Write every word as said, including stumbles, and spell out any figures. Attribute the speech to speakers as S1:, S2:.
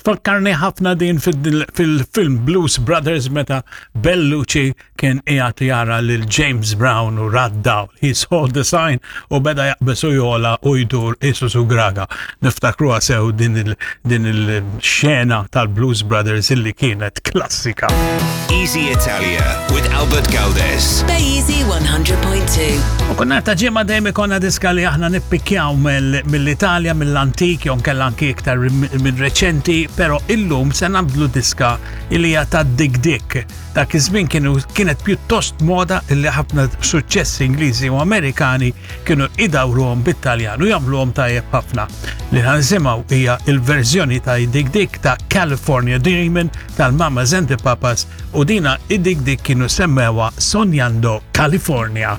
S1: Tfakkarni ħafna din fil-film Blues Brothers meta Bellucci kien qiegħed jara lil James Brown u ra d-dawl. He saw the sign u beda jaqbeż u jogħla u jdur qisu sugraga. Niftakruha sew din il-xena tal-Blues Brothers illi kienet klassika.
S2: Easy Italia with Albert Galdes.
S3: Easy one hundred point two.
S1: U kull nhar ta' Ġimgħa dejjem ikollna diska li aħna nippikjaw mill-Italja, mill-antik, jew kella anki iktar minn reċenti, pero illum se nagħmlu diska illi hija ta' Dik Dik. Dak iż-żmien kienu kienet pjuttost moda illi ħafna suċċessi Ingliżi u Amerikani kienu idawruhom bit-Taljan u jagħmluhom tajjeb ħafna. Li ħa nisimgħu hija il-verżjoni ta' Dik Dik ta' California Dreamin' tal-Mamas and the Papas u dina id-Dik Dik kienu semmewha Sognando California.